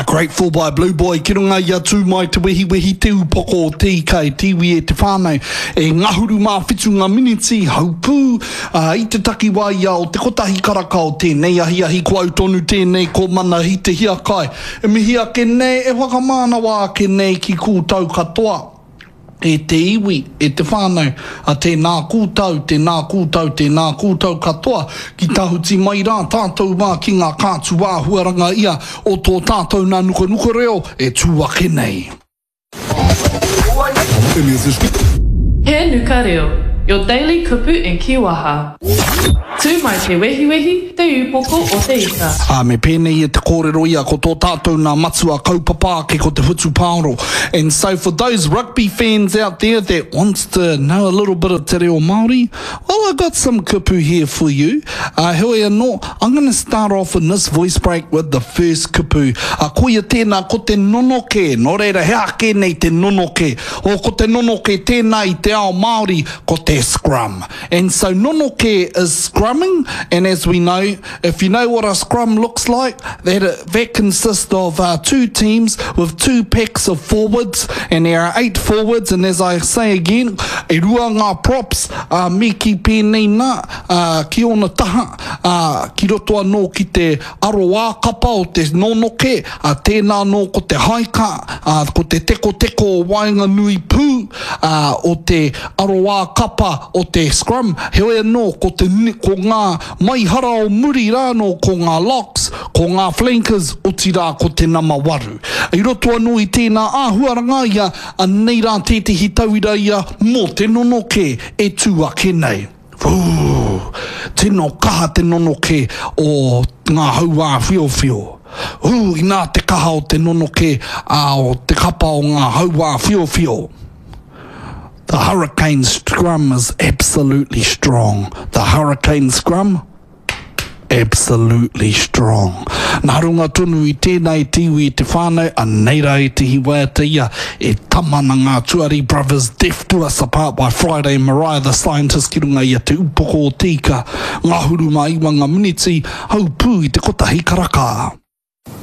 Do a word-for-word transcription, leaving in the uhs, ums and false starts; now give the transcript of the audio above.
Grateful by Blue Boy ki runga i a Tū Mai Te Wehiwehi te upoko o te ika e te iwi e te whānau e ngahuru mā whitu ngā miniti haupū uh, i te takiwā ia o te kotahi karaka o tēnei ahiahi ko au tonu tēnei ko Manahi Te Hiakai e mihi ake nei e whakamānawa ake nei ki koutou katoa e te iwi, e te whānau, a tēnā koutou, tēnā koutou, tēnā koutou katoa, ki tahuti mai rā tātou mā ki ngā kātu āhuaranga ia o tō tātou nā nukanuka reo e tū ake nei. He Nuka Reo, your daily kupu and kiwaha. Tū mai te wehiwehi, te upoko o te ika. Ā, me pēnei e te kōrero ia, ko tō tātou nā matua kaupapa ake ko te whutupaoro. And so for those rugby fans out there that wants to know a little bit of te reo Māori, well, I got some kupu here for you. Uh, heoi anō, I'm gonna start off in this voice break with the first kupu. Uh, koia tēnā, ko te nonoke. Nō reira, he aha kē nei te nonoke? O, ko te nonoke tēnā i te ao Māori, ko te scrum. And so nonoke is scrumming, and as we know, if you know what a scrum looks like, that, that consists of uh, two teams with two packs of forwards, and there are eight forwards, and as I say again, e rua ngā props, uh, me ki pēnei nā, uh, ki ōna taha, uh, ki roto anō ki te aroā kapa o te nonoke, uh, tēnā anō ko te haika, uh, ko te tekoteko o waenganui pū, uh, o te aroā kapa o te scrum, heoi anō ko, te, ko ngā maihara o muri rānō ko ngā locks, ko ngā flankers, otirā ko te nama waru. I roto anō i tēnā āhuaranga ia, anei rā tētehi tauira ia mō te nonoke e tū ake nei. Ū, tino kaha te nonoke o ngā hauā whiowhio. Ū, inā te kaha o te nonoke a o te kapa o ngā hauā whiowhio. The Hurricane scrum is absolutely strong. The Hurricane scrum, absolutely strong. Nā runga tonu i tēnā e te iwi e te whānau, anei rā ētehi waiata ia e tama na ngā Tuari Brothers Death Do Us Apart by Friday Mariah the Scientist ki runga i a Te Upoko o Te Ika, ngahuru mā iwa ngā miniti, haupū i te kotahi karaka.